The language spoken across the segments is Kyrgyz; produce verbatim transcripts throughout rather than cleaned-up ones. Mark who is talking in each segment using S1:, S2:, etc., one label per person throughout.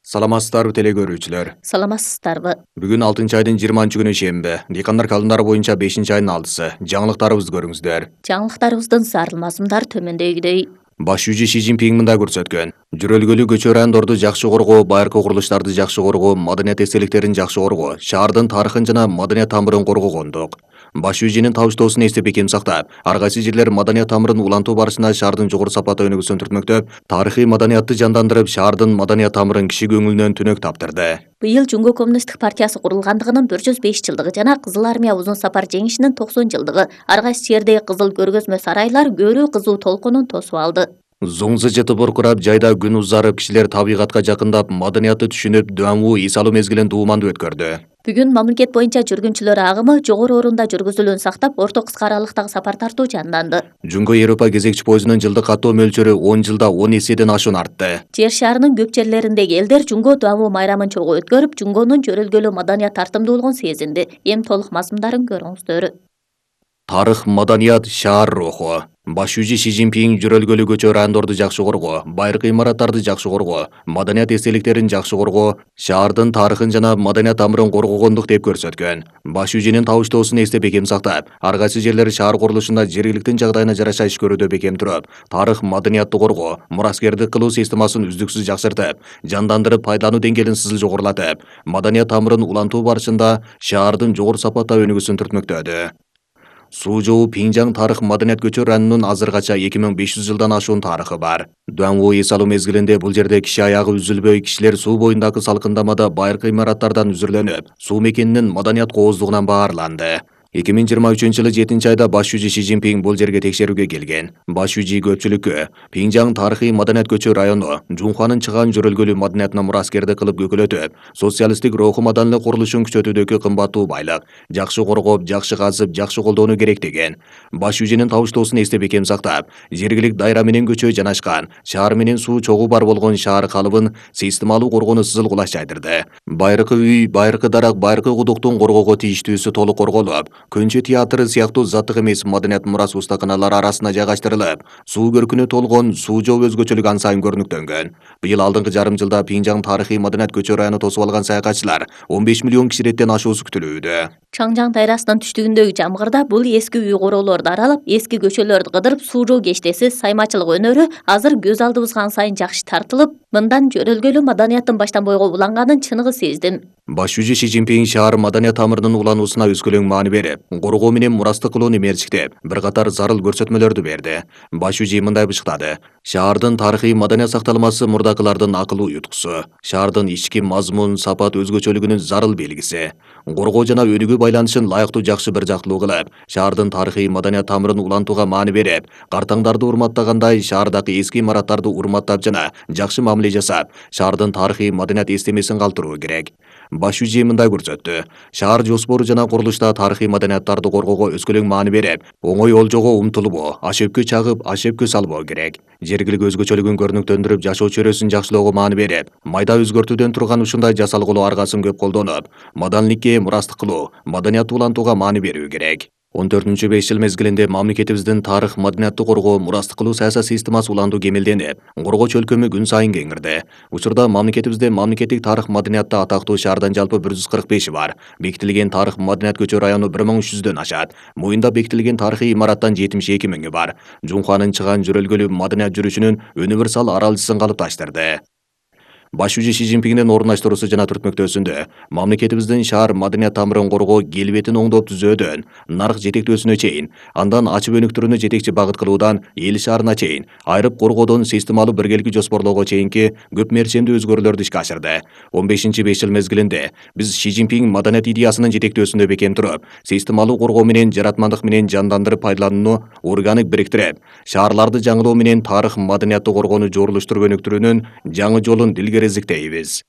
S1: Саламатсыздарбы теле көрүүчүлөр.
S2: Саламатсыздарбы.
S1: Бүгүн алтынчы айдын жыйырманчы күнү шемби. Дыйкандар календары боюнча бешинчи айдын алдысы. Жаңылыктарыбызды көрүңүздөр.
S2: Жаңылыктарыбыздын сарыл мазмундар төмөндөгүдөй.
S1: Баш жүзү Ши Цзиньпин мындай көрсөткөн. Жүрөлгөлүү көчө райондорду жакшы коргоо, байыркы курулуштарды жакшы коргоо, маданият эстеликтерин жакшы коргоо, шаардын тарыхын жана маданият тамырын коргогондук. Баш жүзүнүн табыштоосун эстеп бекем сактап, ар кайсы жерлер маданият тамырын улантуу барышында шаардын жогору сапаты өнүгүүсүн түртмөктөп, тарыхый маданиятты жандандырып, шаардын маданият тамырын киши көңүлүнөн түнөк таптырды.
S2: Быйыл Жумго коммунисттик партиясы курулгандыгынын бір жүз беш жылдыгы жана Кызыл армия узун сапар жеңишинин токсон жылдыгы. Ар кайсы жердеги кызыл көргөзмө сарайлар көрүү кызуу толкунун тосуп алды.
S1: Зоңзы жетип буркурап, жайда күн узарып, кишилер табигатка жакындап, маданиятты түшүнүп, Дуамву эс алуу мезгилин дуумандуу өткөрдү.
S2: Бүгүн мамлекет боюнча жүргүнчүлөр агымы жогору орунда жүргүзүлүүнү сактап, орто кыска аралыктагы сапар тартуу жанданды.
S1: Жумго Европа кезекчи поездунун жылдык каттоо мөлчөрү он жылда он эседен ашуун артты.
S2: Жер шаарынын көп жерлериндеги элдер Жумго Дуамву майрамын чогуу өткөрүп, Жумгонун жөрөлгөлүү маданият тартымдуулугун сезинди. Эми толук мазмундарын көрүңүздөр.
S1: Тарых, маданият, шаар руху. Баш жүзү Ши Цзиньпин жүрөлгөлүү көчө райондорду жакшы коргоо, байыркы имараттарды жакшы коргоо, маданият эстеликтерин жакшы коргоо, шаардын тарыхын жана маданият тамырын коргогондук деп көрсөткөн. Баш жүзүнүн табыштоосун эстеп бекем сактап, ар кайсы жерлер шаар курулушунда жергиликтин жагдайына жараша иш көрүүдө бекем туруп, тарых, маданиятты коргоо, мураскердик кылуу системасын үздүксүз жакшыртып, жандандырып, пайдалануу деңгээлин сызыл жогорулатып, маданият тамырын улантуу барышында шаардын жогору сапатта өнүгүүсүн түртмөктөдү. Суу жоо Пинжаң тарых маданият көчө районунун азыркача эки миң беш жүз жылдан ашуун тарыхы бар. Дуамву эс алуу мезгилинде бул жерде киши аягы үзүлбөй, кишилер суу боюндагы салкындамада байыркы имараттардан үзүрлөнүп, суу мекенинин маданият кооздугунан баарланды. эки миң жыйырма үчүнчү жылы жетинчи айда баш жүзү Ши Цзиньпин бул жерге текшерүүгө келген. Баш жүзү көпчүлүккө Пинжаң тарыхый маданият көчө району Жунханын чыгаан жөрөлгөлүү маданиятына мураскерди кылып көкөлөтүп, социалисттик руху маданиялык курулушун күчөтүүдөгү кымбаттуу байлык, жакшы коргоп, жакшы казып, жакшы колдоону керек деген. Баш жүзүнүн табыштоосун эстеп бекем сактап, жергилик дайра менен көчө жанашкан, шаар менен суу чогуу бар болгон шаар калыбын системалуу коргоону сызыл кулаш жайдырды. Байыркы үй, байыркы дарак, байыркы кудуктун коргоого тийиштүүсү толук корголуп, Көнчө театры сыяктуу заттык эмес маданият мурас устаканалары арасына жайгаштырылып, суу көркүнө толгон суу жоо өзгөчөлүк ан сайын көрүнүктөнгөн. Быйыл алдыңкы жарым жылда Пинжаң тарыхый маданият көчө району тосуп алган саякатчылар он беш миллион кишилеттен ашуусу күтүлүүдө.
S2: Чаңжаң дайрасынын түштүгүндөгү жамгырда бул эски үй короолорду аралап, эски көчөлөрдү кыдырып, суу жоо кештеси, саймачылык өнөрү азыр көз алдыбызга ан сайын жакшы тартылып, мындан жөрөлгөлүү маданияттын баштан бойго уланганын чыныгы сездим.
S1: Баш жүзү Ши Цзиньпин шаар маданият тамырынын улануусуна өскөлөң маани берип, коргоо менен мурастык кылууну мерчиктеп, бир катар зарыл көрсөтмөлөрдү берди. Баш жүзү мындай бышыктады. Шаардын тарыхый маданият сакталмасы мурдакылардын акылуу юткусу, шаардын ички мазмун, сапат өзгөчөлүгүнүн зарыл белгиси. Коргоо жана өнүгүү байланышын лайыктуу жакшы бир жактылуу кылып, шаардын тарыхый маданият тамырын улантууга маани берип, картаңдарды урматтагандай шаардагы эски имараттарды урматтап жана жакшы мамиле жасап, шаардын тарыхый маданият эстемесин калтыруу керек. Баш жүзү мындай көрсөттү. Шаар жоспору жана курулушта тарыхый маданияттарды коргоого өскөлөң маани берип, оңой олжого умтулбоо, ашөпкө чагып, ашөпкө салбоо керек. Жергилик өзгөчөлүгүн көрүнүктөндүрүп, жашоо чөйрөсүн жакшылоого маани берип, майда өзгөртүүдөн турган ушундай жасалгылоо аргасын көп колдонуп, маданиликке мурастык кылуу, маданиятты улантууга маани берүү керек. он төртүнчү беш жыл мезгилинде мамлекетибиздин тарых, маданиятты коргоо, мурастык кылуу саясат системасы улантуу кемелденип, коргоо чөлкөмү күн сайын кеңирди. Учурда мамлекетибизде мамлекеттик тарых, маданиятта атактуу шаардан жалпы бир жүз кырк беши бар. Бекитилген тарых, маданият көчө району бир миң үч жүздөн ашат. Муюнда бекитилген тарыхый имараттан жетимиш эки миңи бар. Жунханын чыгаан жөрөлгөлүү маданият жүрүшүнүн универсал аралыжысын калыпташтырды. Баш жүзү Ши Цзиньпиндин орундаштыруусу жана түртмөктөөсүндө мамлекетибиздин шаар маданият тамырын коргоо, келбетин оңдоп түзөөдөн нарк жетектөөсүнө чейин, андан ачып өнүктүрүүнү жетекчи багыт кылуудан эл шаарына чейин, айрып коргоодон системалуу биргеликти жоспорлоого чейинки көп мерчемдүү өзгөрүүлөрдү ишке ашырды. он бешинчи беш жыл мезгилинде биз Ши Цзиньпин маданият идеясынын жетектөөсүндө бекем туруп, системалуу коргоо менен жаратмандык менен жандандырып пайдаланууну органик бириктирип, шаарларды жаңылоо менен тарых, маданиятты коргоону жорулуштуруп өнүктүрүүнүн жаңы жолун илгерезиктейбиз.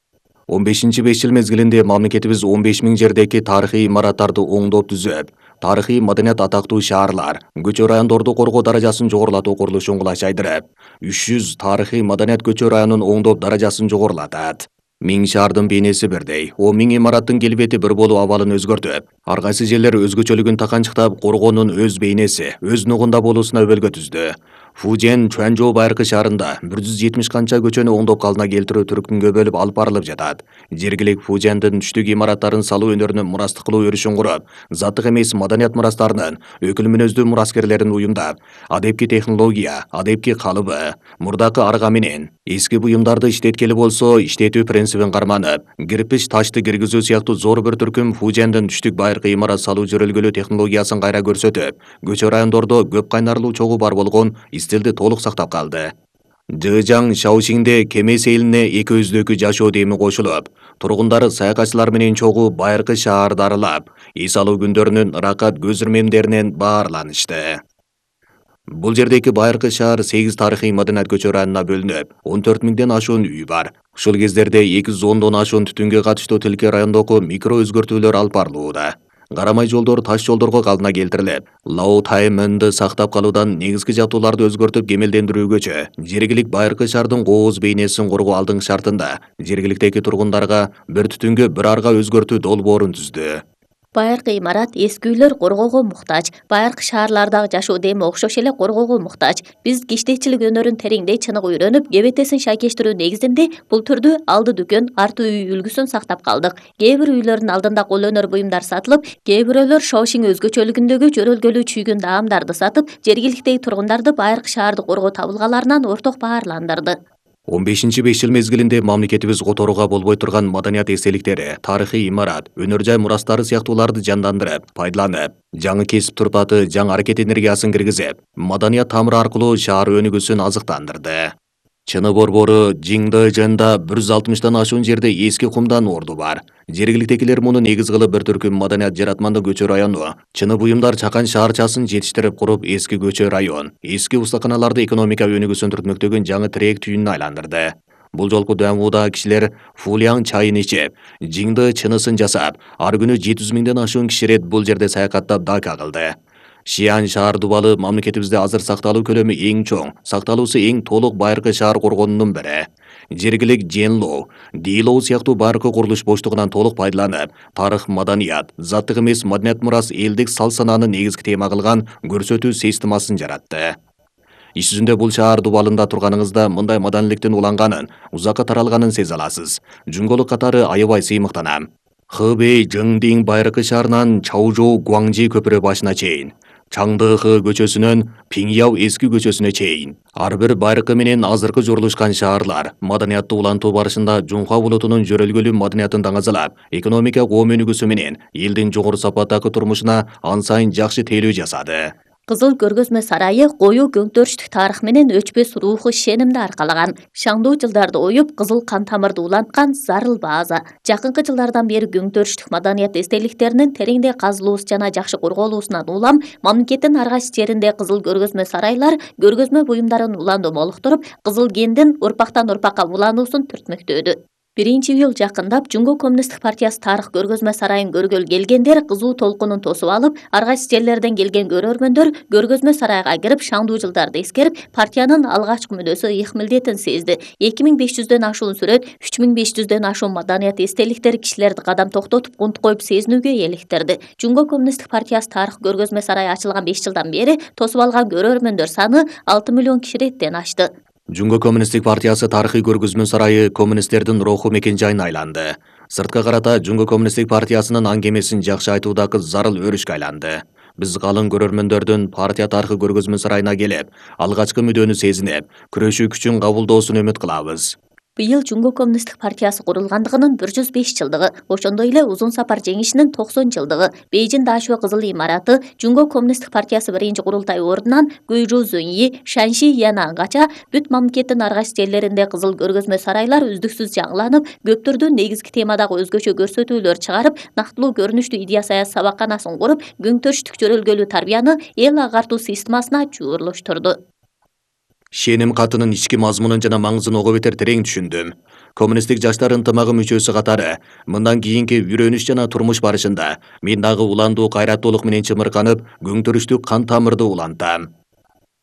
S1: он бешинчи беш жыл мезгилинде мамлекетибиз он беш миң жердеги тарыхый имараттарды оңдоп түзөп, тарыхый маданият атактуу шаарлар, көчө райондорду коргоо даражасын жогорулатуу курулушун кулаш жайдырып, үч жүз тарыхый маданият көчө районун оңдоп даражасын жогорулатат. Миң шаардын бейнеси бирдей, он миң имараттын келбети бир болуу абалын өзгөртүп, ар кайсы жерлер өзгөчөлүгүн таканчыктап, коргоонун өз бейнеси, өз нугунда болуусуна өбөлгө түздү. Фужен Чуанчжоу байыркы шаарында бир жүз жетимиш канча көчөнү оңдоп калдына келтирүү түркүнгө бөлүп алып барылып жатат. Жергилик Фужендин түштүк имараттарын салуу өнөрүнө мурастык кылуу өрүшүн куруп, заттык эмес маданият мурастарынын өкүл мүнөздүү мураскерлерин уюмдап, адепки технология, адепки калыбы, мурдакы арга менен эски буюмдарды иштеткели болсо иштетүү принцибин карманып, кирпич ташты киргизүү сыяктуу зор бир түркүм Фужендин түштүк байыркы имарат салуу жөрөлгөлүү технологиясын кайра көрсөтүп, көчө райондордо көп кайнарлуу чогуу бар болгон стилди толук сактап калды. Жыжаң Шаошиңде Кемес элине эки өздөкү жашоо деми кошулуп, тургундары саякатчылар менен чогуу байыркы шаарды аралап, эс алуу күндөрүнүн ыракат көз ирмемдеринен баарланышты. Бул жердеки байыркы шаар сегиз тарыхый маданият көчө районуна бөлүнүп, он төрт миңден ашуун үй бар. Ушул кездерде эки жүз ондон ашуун түтүнгө катыштуу тилке райондогу микро өзгөртүүлөр алып барылууда. Карамай жолдор таш жолдорго калдына келтирилип, Лао Таймынды сактап калуудан негизги жабдууларды өзгөртүп кемелдендирүүгөчө жергилик байыркы шаардын кооз бейнесин коргоо алдыңкы шартында жергиликтеги тургундарга бир түтүнгө бир арга өзгөртүү долбоорун түздү.
S2: Байыркы имарат эски үйлөр коргоого муктаж, байыркы шаарлардагы жашоо деми окшош эле коргоого муктаж. Биз киштекчилик өнөрүн тереңдей чыныгы үйрөнүп, кебетесин шайкештирүү негизинде бул түрдүү алды дүкөн, арты үй үлгүсүн сактап калдык. Кээ бир үйлөрдүн алдында кол өнөр буюмдар сатылып, кээ бирөөлөр Шаошиң өзгөчөлүгүндөгү жөрөлгөлүү чүйгүн даамдарды сатып, жергиликтеги тургундарды байыркы шаарды коргоо табылгаларынан орток баарландырды.
S1: он бешинчи беш жыл мезгилинде мамлекетибиз которууга болбой турган маданият эстеликтери, тарыхый имарат, өнөр жай мурастары сыяктууларды жандандырып, пайдаланып, жаңы кесип турпаты, жаңы аракет энергиясын киргизип, маданият тамыры аркылуу шаар өнүгүүсүн азыктандырды. Чыны борбору Жиңдажында бир жүз алтымыштан ашуун жерде эски кумдан орду бар. Жергиликтегилер муну негиз кылып бир түркүм маданият жаратмандуу көчө району, чыны буюмдар чакан шаарчасын жетиштирип куруп, эски көчө район, эски устаканаларды экономика өнүгүүсүн түртмөктөгөн жаңы тирек түйүнүнө айландырды. Бул жолку дүймөдө кишилер Фулияң чайын ичип, Жиңды чынысын жасап, ар күнү жети жүз миңден ашуун киши рет бул жерде саякаттап дака кылды. Шиан шаар дубалы мамлекетибизде азыр сакталуу көлөмү эң чоң, сакталуусу эң толук байыркы шаар коргонунун бири. Жергилик Женлоу, Дилоу сыяктуу байыркы курулуш боштугунан толук пайдаланып, тарых, маданият, заттык эмес маданият мурас, элдик сал-санааны негизги тема кылган көрсөтүү системасын жаратты. Иш жүзүндө бул шаар дубалында турганыңызда мындай маданиликтин уланганын, узакка таралганын сезе аласыз. Жүнгөлүк катары аябай сыймыктанам. Хэбэй Жыңдиң байыркы шаарынан Чаожоу Гуаңжи көпүрө башына чейин, Чаңдыхы көчөсүнөн Пиңяу эски көчөсүнө чейин ар бир байыркы менен азыркы журулушкан шаарлар маданиятты улантуу барышында Жунха булутунун жөрөлгөлүү маданиятын даңазалап, экономика коом өнүгүүсү менен элдин жогору сапаттагы турмушуна ан сайын жакшы тейлөө жасады.
S2: Кызыл көргөзмө сарайы коюу көңтөрүштүк тарых менен өчпөс руху шенимди аркалаган. Шаңдуу жылдарды оюп, кызыл кан тамырды уланткан зарыл база. Жакынкы жылдардан бери көңтөрүштүк маданият эстеликтеринин тереңдей казылуусу жана жакшы корголуусунан улам, мамлекеттин ар кайсы жеринде кызыл көргөзмө сарайлар көргөзмө буюмдарын улануу молуктуруп, кызыл гендин урпактан урпакка улануусун түртмөктөдү. биринчи июль жакындап, Жумго коммунисттик партиясы тарых көргөзмө сарайын көргөлү келгендер кызуу толкунун тосуп алып, ар кайсы жерлерден келген көрөрмөндөр көргөзмө сарайга кирип, шаңдуу жылдарды эскерип, партиянын алгачкы мүнөсү ыйык милдетин сезди. эки миң беш жүздөн ашуун сүрөт, үч миң беш жүздөн ашуун маданият эстеликтер кишилерди кадам токтотуп, кунт коюп сезинүүгө эликтирди. Жумго коммунисттик партиясы тарых көргөзмө сарайы ачылган беш жылдан бери тосуп алган көрөрмөндөр саны алты миллион киши реттен ашты.
S1: Жумго коммунисттик партиясы тарыхый көргөзмө сарайы коммунисттердин руху мекен жайына айланды. Сыртка карата Жумго коммунисттик партиясынын аңгемесин жакшы айтуудагы зарыл өрүшкө айланды. Биз калың көрөрмөндөрдүн партия тарыхый көргөзмө сарайына келип, алгачкы мүдөнү сезинип, күрөшүү күчүн кабылдоосун үмүт кылабыз.
S2: Быйыл Жумго коммунисттик партиясы курулгандыгынын бир жүз беш жылдыгы, ошондой эле Узун сапар жеңишинин токсон жылдыгы, Бейжин Дашуэ кызыл имараты, Жумго коммунисттик партиясы биринчи курултай ордунан Гуйжу Зуньи, Шанши Янангача бүт мамлекеттин ар кайсы жерлеринде кызыл көргөзмө сарайлар үздүксүз жаңыланып, көп түрдүү негизги темадагы өзгөчө көрсөтүүлөр чыгарып, нактылуу көрүнүштүү идея саясат сабакканасын куруп, көңтөрүштүк жөрөлгөлүү тарбияны эл агартуу системасына жуурлуштурду.
S1: Шеним катынын ички мазмунун жана маңызын ого бетер терең түшүндүм. Коммунисттик жаштар ынтымагы мүчөсү катары, мындан кийинки үйрөнүш жана турмуш барышында мен дагы уландуу кайраттуулук менен чымырканып, көңтөрүштүк кан тамырды улантам.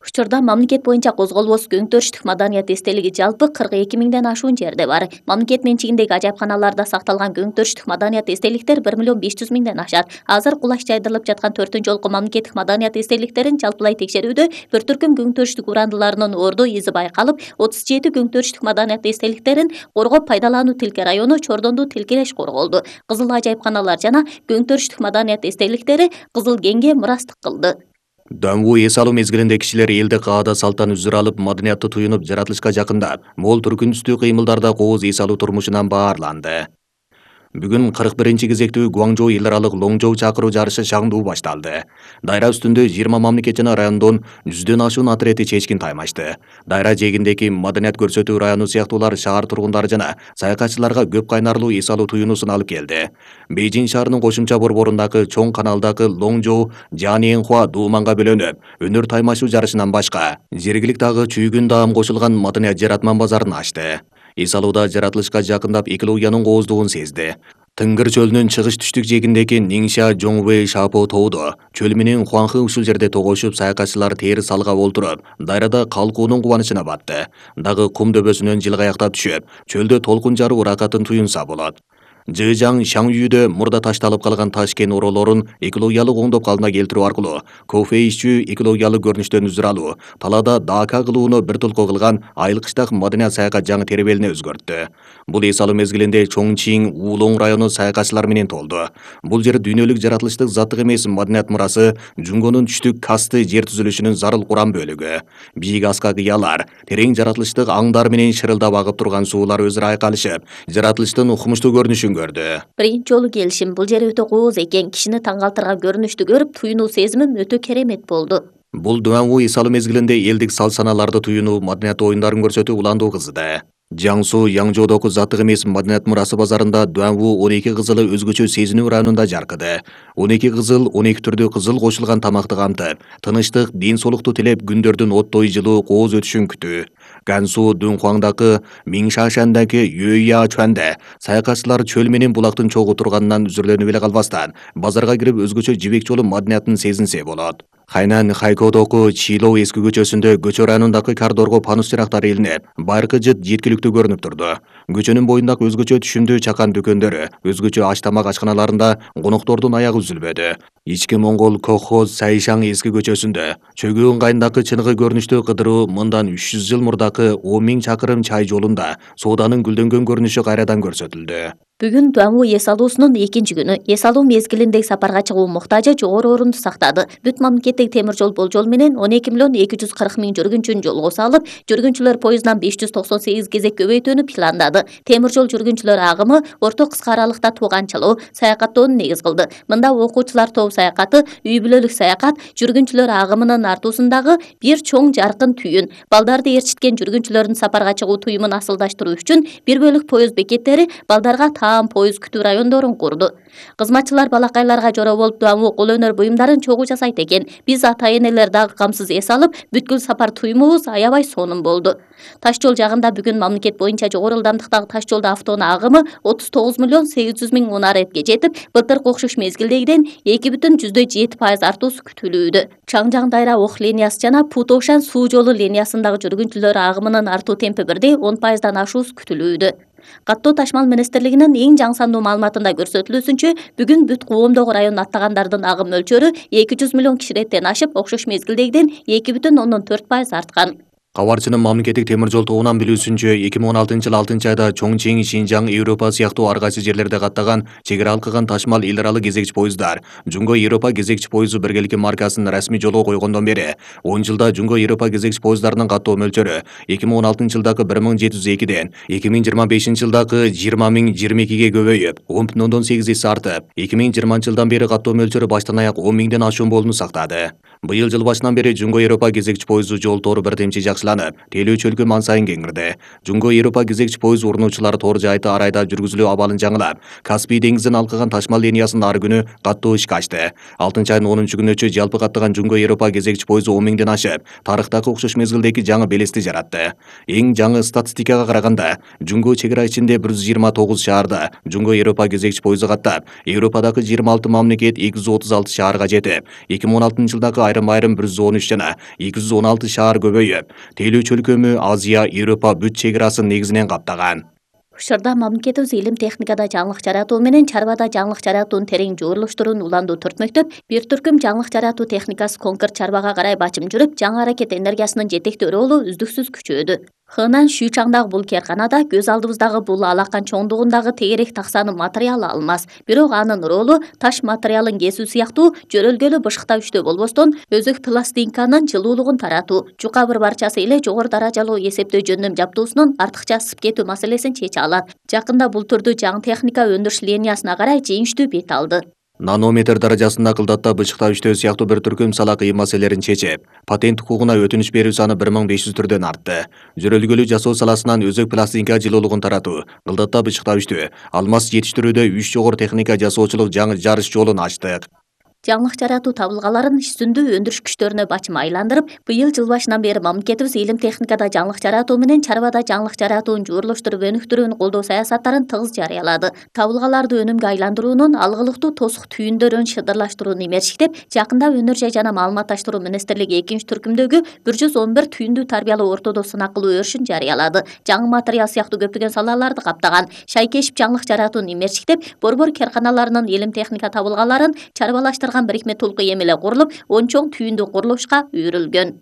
S2: Учурда мамлекет боюнча козголбос көңтөрүштүк маданият эстелиги жалпы кырк эки миңден ашуун жерде бар. Мамлекет менчигиндеги ажайыпканаларда сакталган көңтөрүштүк маданият эстеликтер бир миллион беш жүз миңден ашат. Азыр кулаш жайдырылып жаткан төртүнчү жолку мамлекеттик маданият эстеликтерин жалпылай текшерүүдө бир түркүм көңтөрүштүк урандыларынын орду изи байкалып, отуз жети көңтөрүштүк маданият эстеликтерин коргоп пайдалануу Тилке району Чордондуу тилкелеш корголду. Кызыл ажайыпканалар жана көңтөрүштүк маданият эстеликтери Кызыл кеңге мурастык кылды.
S1: Даңгуу эс алуу мезгилинде кишилер элди каада салттан үзүр алып, маданиятты туюнуп, жаратылышка жакындап, мол түркүнүстүү кыймылдарда кооз эс алуу турмушунан баарланды. Бүгүн кырк биринчи кезектүү Гуаңжоу эл аралык Лоңжоу чакыруу жарышы шаңдуу башталды. Дайра үстүндө жыйырма мамлекет жана райондон жүздөн ашуун атрети чечкин таймашты. Дайра жээгиндеги маданият көрсөтүү району сыяктуулар шаар тургундары жана саякатчыларга көп кайнарлуу эс алуу туюнуусун алып келди. Бейжиң шаарынын кошумча борборундагы чоң каналдагы Лоңжоу Жаниэнхуа дууманга бөлөнүп, өнөр таймашуу жарышынан башка жергиликтүү агы чүйгүн даам кошулган маданият жаратман базарын ачты. Эс алууда жаратылышка жакындап экологиянын кооздугун сезди. Тынгыр чөлүнүн чыгыш түштүк жээгиндеги Ниңша Жоңвэй Шапо тоодо чөл менен Хуаңхы ушул жерде тогошуп, саякатчылар тери салгап олтуруп, дайрада калкуунун кубанычына батты. Дагы кум дөбөсүнөн жылгаяктап түшүп, чөлдө толкун жаруу ракатын туюнса болот. Жыжаң Шаңюйдө мурда ташталып калган таш кен ороолорун экологиялык оңдоп калыбына келтирүү аркылуу кофе ичүү, экологиялык көрүнүштөн үзүр алуу, талаада дака кылууну бир толко кылган айылкычтак маданият саякат жаңы теребелине өзгөрттү. Бул эс алуу мезгилинде Чоңчиң Уулоң району саякатчылар менен толду. Бул жер дүйнөлүк жаратылыштык заттык эмес маданият мурасы, Жунгонун түштүк касты жер түзүлүшүнүн зарыл курам бөлүгү. Бийик аска кыялар, терең жаратылыштык аңдар менен шырылдап агып турган суулар өзүрө айкалышып, жаратылыштын укмуштуу көрүнүшүн көрдү.
S2: Биринчи жолу келишим, бул жер өтө кооз экен, кишини таң калтырган көрүнүштү көрүп, туюнуу сезимим өтө керемет болду.
S1: Бул Дуаңгуу эс алуу мезгилинде элдик сал-санааларды туюнуу, маданият оюндарын көрсөтүү уландуу кызды. Жаңсу Яңжоодогу заттык эмес маданият мурасы базарында Дуаңгуу он эки кызылы өзгөчө сезинүү районунда жаркыды. он эки кызыл он эки түрдүү кызыл кошулган тамакты камтып, тынычтык, ден соолукту тилеп күндөрдүн оттой жылуу кооз өтүшүн күтүү. Гансу Дунхуаңдагы Миңшашандагы Юйя Чуанде саякатчылар чөл менен булактын чогуу турганынан үзүрлөнүп эле калбастан, базарга кирип өзгөчө жибек жолу маданиятын сезинсе болот. Хайнан Хайкодогу Чилоо эски көчөсүндө көчө районундагы кардорго панус чырактары илинип, байыркы жыт жеткиликтүү көрүнүп турду. Көчөнүн боюндагы өзгөчө түшүмдүү чакан дүкөндөрү, өзгөчө аш тамак ачканаларында коноктордун аягы үзүлбөдү. Ички Моңгол колхоз Сайшаң эски көчөсүндө чөгүү ыңгайындагы чыныгы көрүнүштүү кыдыруу мындан үч жүз жыл мурдакы он миң чакырым чай жолунда сооданын гүлдөнгөн көрүнүшү кайрадан көрсөтүлдү.
S2: Бүгүн Дуаңгуу эс алуусунун экинчи күнү. Эс алуу мезгилиндеги сапарга чыгуу муктажы жогору орунду сактады. Бүт мамлекеттик темир жол болжол менен он эки миллион эки жүз кырк миң жүргүнчүн жолго салып, жүргүнчүлөр поездунан беш жүз токсон сегиз кезек көбөйтүүнү пландады. Темир жол жүргүнчүлөр агымы орто кыска аралыкта тууганчылоо, саякаттоону негиз кылды. Мында окуучулар тобу саякаты, үй бүлөлүк саякат, жүргүнчүлөр агымынын артуусундагы бир чоң жаркын түйүн, балдарды ээрчиткен жүргүнчүлөрдүн сапарга чыгуу туюмун асылдаштыруу үчүн бир бөлүк поезд бекеттери балдарга таам поезд күтүү райондорун курду. Кызматчылар балакайларга жора болуп Дуаңгуу кол өнөр буюмдарын чогуу жасайт экен. Биз ата-энелер дагы камсыз эс алып, бүткүл сапар туюмубуз аябай сонун болду. Таш жол жагында бүгүн мамлекет боюнча жогору ылдамдыктагы таш жолдо автоунаа агымы отуз тогуз миллион сегиз жүз миң унаретке жетип, былтыркы окшош мезгилдегиден эки бүтүн жүздөй жети пайыз артуусу күтүлүүдө. Чаңжаң Дайра Ох линиясы жана Путошан суу жолу линиясындагы жүргүнчүлөр агымынын артуу темпи бирдей он пайыздан ашуусу күтүлүүдө. Каттоо ташмал министрлигинин эң жаңы сандуу маалыматында көрсөтүлүүсүнчө, бүгүн бүт Коомдогу район аттагандардын агым мөлчөрү эки жүз миллион кишилеттен ашып, окшош мезгилдегиден эки бүтүн ондон төрт пайыз арткан.
S1: Кабарчынын мамлекеттик темир жол тобунан билүүсүнчө, эки миң он алтынчы жылы алтынчы айда Чоңчиң, Шинжаң, Европа сыяктуу ар кайсы жерлерде каттаган чек ара алкыган ташмал эл аралык кезекчи поезддар Жунго Европа кезекчи поезду биргелики маркасын расмий жолго койгондон бери он жылда Жунго Европа кезекчи поезддарынын каттоо мөлчөрү эки миң он алтынчы жылдагы бир миң жети жүз экиден эки миң жыйырма бешинчи жылдагы жыйырма миң жыйырма экиге көбөйүп, он бүтүн ондон сегиз эсе артып, эки миң жыйырманчы жылдан бери каттоо мөлчөрү баштан аяк он миңден ашуун болууну сактады. Быйыл жыл башынан бери Жунго Европа кезекчи поезду жол тору бирдемчи жакшыланып, тейлөө чөлкө ман сайын кеңирди. Жунго Европа кезекчи поезд урунуучулар тор жайты арайда жүргүзүлүү абалын жаңылап, Каспий деңизин алкыган ташмал линиясын ар күнү каттоо ишке ачты. алтынчы айдын онунчу күнүчө жалпы каттаган Жунго Европа кезекчи поезду он миңден ашып, тарыхтагы окшош мезгилдеги жаңы белести жаратты. Эң жаңы статистикага караганда, Жунго чек ара ичинде бир жүз жыйырма тогуз шаарда Жунго Европа кезекчи поезду каттап, Европадагы жыйырма алты мамлекет эки жүз отуз алты шаарга жетип, эки миң он алтынчы жылдагы айрым-айрым бир жүз он үч жана эки жүз он алты шаар көбөйүп, тейлөө чөлкөмү Азия, Европа бүт чек арасын негизинен каптаган.
S2: Учурда мамлекетибиз илим техникада жаңылык жаратуу менен чарбада жаңылык жаратуунун терең жуурулуштурууну уланду төртмөктөп, бир түркүм жаңылык жаратуу техникасы конкурс чарбага карай бачым жүрүп, жаңы аракет энергиясынын жетектөө ролу үздүксүз күчөөдү. Хынан Шүйчаңдагы бул карканада көз алдыбыздагы бул алакан чоңдугундагы тегерек таксаны материал алынмас. Бирок анын ролу таш материалын кесүү сыяктуу жөрөлгөлүү бышыктагычтөө болбостон, өзөк пластинканын жылуулугун таратуу, жука бір барчасы эле жогору даражалуу эсептөө жөндөм жабдуусунун артыкча ысып кетүү маселесин чече алат. Жакында бул түрдүү жаңы техника өндүрүш линиясына карай жеңиштүү бет алды.
S1: Нанометр даражасында кылдатта бычыктагычтөө сыяктуу бир түркүм сала кыйын маселелерин чечип, патент укугуна өтүнүч берүү саны бир миң беш жүз түрдөн артты. Жөрөлгөлүү жасоо саласынан өзөк пластинка жылуулугун таратуу, кылдатта бычыктагычтөө, алмаз жетиштирүүдө үч жогору техника жасоочулук жаңы жарыш жолун ачтык.
S2: Жаңылык жаратуу табылгаларын иш-сүндүү өндүрүш күчтөрүнө бачым айландырып, быйыл жыл башынан бери мамлекетибиз илим техникада жаңылык жаратуу менен чарбада жаңылык жаратуун жуурулуштуруп өнүктүрүүнү колдоо саясаттарын тыгыз жарыялады. Табылгаларды өнүмгө айландыруунун алгылыктуу тосук түйүндөрүн шыдырлаштырууну эмерчиктеп, жакында өнөр жай жана маалыматташтыруу министрлиги экинчи түркүмдөгү бир жүз он бир түйүндүү тарбиялуу ортодо сынак кылуу өрүшүн жарыялады. Жаңы материал сыяктуу көптөгөн салаларды каптаган Шайкешев жаңылык жаратууну эмерчиктеп, борбор карканаларынын илим техника табылгаларын чарбалаштырган бирикме толук эмеле курулуп, он чоң түйүндүү курулушка үйрүлгөн.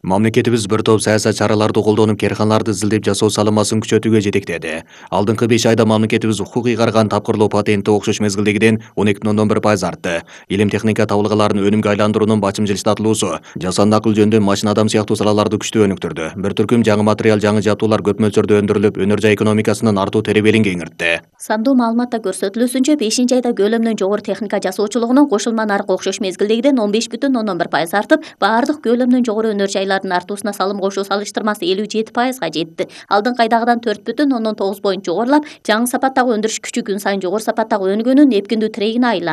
S1: Мамлекетибиз бир топ саясат чараларды колдонуп, карканаларды изилдеп жасоо салымасын күчөтүүгө жетектеди. Алдыңкы беш айда мамлекетибиз укук ыйгарган тапкырлоо патенти окшош мезгилдегиден он эки бүтүн ондон бир пайыз артты. Илим техника табылгаларын өнүмгө айландыруунун бачым жылыштатылуусу, жасанды акыл жөндөм, машина адам сыяктуу салаларды күчтүү өнүктүрдү. Бир түркүм жаңы материал, жаңы жабдуулар көп мөлчөрдө өндүрүлүп, өнөр жай экономикасынын артуу теребелин кеңиртти.
S2: Сандуу маалыматта көрсөтүлүүсүнчө, бешинчи айда көлөмүнөн жогору техника жасоочулугунун кошулма наркы окшош мезгилдегиден он беш бүтүн ондон бир пайыз артып, баардык көлөмүнөн жогору өнөр жайлардын артуусуна салым кошуу салыштырмасы элүү жети пайызга жетти. Алдыңкы айдагыдан төрт бүтүн ондон тогуз поинт жогорулап, жаңы сапаттагы өндүрүш күчү күн сайын жогору сапаттагы өнүгүүнүн эпкиндүү тирегине айланды.